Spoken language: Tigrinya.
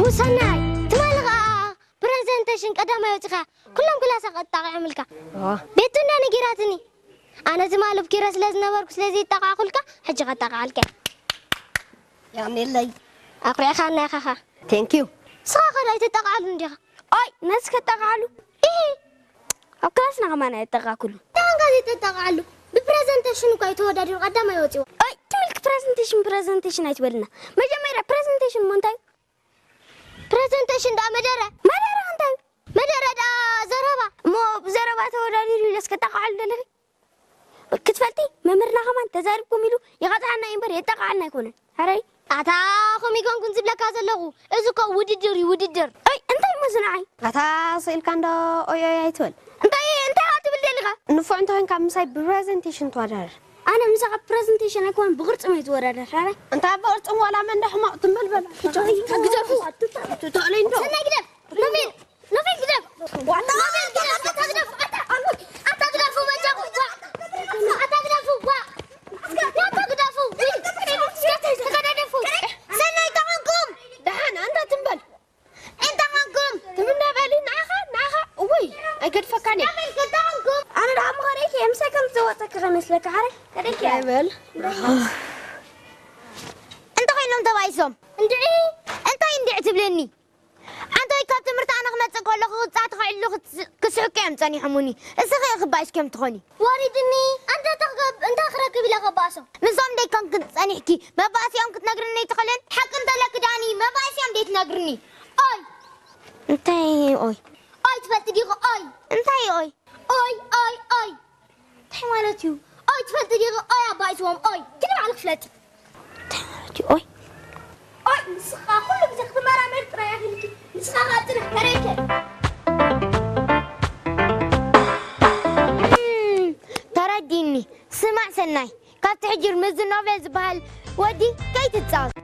ውሰናይ ትማሊ ኸዓ ፕረዘንቴሽን ቀዳማይ ወፂኻ ኩሎም ክላሳ ቀጣቂዖምልካ። ቤቱ እንዳ ነጊራትኒ። ኣነ ትማሊ ኣብ ኪሮ ስለ ዝነበርኩ ስለ ዘይጠቃዕኩልካ ሕጂ ቀጣቃዓልካ። ያኔለይ ኣኩሪዕኻና ኢኻኻ። ቴንኪዩ። ንስኻ ኸ ኣይትጠቃዓሉ እንዲኻ? ኦይ ነዚ ከጠቃዓሉ? ኢሂ። ኣብ ክላስና ከማን ኣይጠቃዕኩሉ። እንታይ ኾንካ ዘይትጠቃዓሉ? ብፕረዘንቴሽን እኳ እዩ ተወዳዲሩ ቀዳማይ ወፂዎ። ኦይ ትብልክ ፕረዘንቴሽን ፕረዘንቴሽን ኣይትበልና። መጀመርያ ፕረዘንቴሽን እሞ እንታይ እዩ? ፕረዘንቴሽን ደኣ መደረ። መደረ እንታይ እዩ? መደረ ደኣ ዘረባ። እሞ ብዘረባ ተወዳዲሩ ኢለስ ከጠቃዓሉ ደለኺ? ክትፈልጢ መምህርና ከማን ተዛሪብኩም ኢሉ ይቐፅዓና እዩ እምበር የጠቃዓልና ኣይኮነን። ሕራይ ኣታ ኸም ይኮንኩን ዝብለካ ዘለኹ። እዚ እኮ ውድድር እዩ ውድድር። ኣይ እንታይ እሞ ዝንዓይ? ኣታ ስኢልካ እንዶ ኦይ ኦይ ኣይትበል። እንታይ እንታይ ትብል ደሊኻ? ንፉዕ እንተኾይንካ ምሳይ ብፕረዘንቴሽን ተወዳደር። ኣነ ምሳኻ ፕረዘንቴሽን ኣይኮን ብቕርፅም እዩ ዝወዳደር። ሕራይ እንታ ብቕርፅም ዋላ መን ዶ ሕማቕ ትንበልበል። ግደፉ። ትተእለይ እንዶ ሰናይ ግደፍ። ኖቤል ኖቤል ግደፍ። ዋላ ኖቤል ግደፍ። ኣታ ግደፍ። ኣታ ኣታ ግደፉ በጃኹም። ዋ። ኣታ ግደፉ። ዋ። ኣታ ግደፉ። ተገዳደፉ። ሰናይ ተኾንኩም። ደሓን ኣንታ ትንበል። እንታይ ኾንኩም? ትምነ በሊ ንዓኻ ንዓኻ። እውይ ኣይገድፈካን እየ። ኖቤል እንታይ ኾንኩም? ኣነ ደኣ ምኸደይክ እየ ምሳይ ከም ዝዘወጠኪ ከመስለካ ሓረ ከደይክ እየ። ኣይበል። እንታይ ኮይኖም ተባኢሶም? እንድዒ እንታይ እንድዒ ትብለኒ? ኣንታ ወይ ካብ ትምህርቲ ኣነ ክመጽእ ከለኹ ቅጻ ተኸዒሉ ክስ- ክስሕቁ እዮም ጸኒሖሙኒ። እስኺ ክባይስ ከም ትኾኒ። ወሪድኒ። ኣንታ እንታይ ክገብ- እንታይ ክረክብ ኢለ ከባእሶም? ንሶም ደይ ኮንክን ጸኒሕኪ መባእሲኦም ክትነግርኒ ኣይትኽእልን? ሓቂ እንተለኪ ዳኒ መባእሲኦም ደይ ትነግርኒ? ኦይ እንታይ ኦይ? ኦይ ትፈልጢ ዲኺ ኦይ? እንታይ ኦይ? ኦይ ኦይ ኦይ እንታይ ማለት እዩ? ኦይ ትፈልጢ ዲኺ ኦይ ኣባይስዎም ኦይ ግን ባዕልኺ ፍለጢ። እንታይ ማለት እዩ ኦይ? ኦይ ንስኻ ኩሉ ግዜ ክትመራመር ጥራይ ኣኺልኪ ንስኻ ኻብ ጽንሕ ተረይከ። እም፣ ተረዲኒ። ስማዕ ሰናይ፣ ካብቲ ሕጂ ምስዚ ኖቬል ዝበሃል ወዲ ከይትጻወት።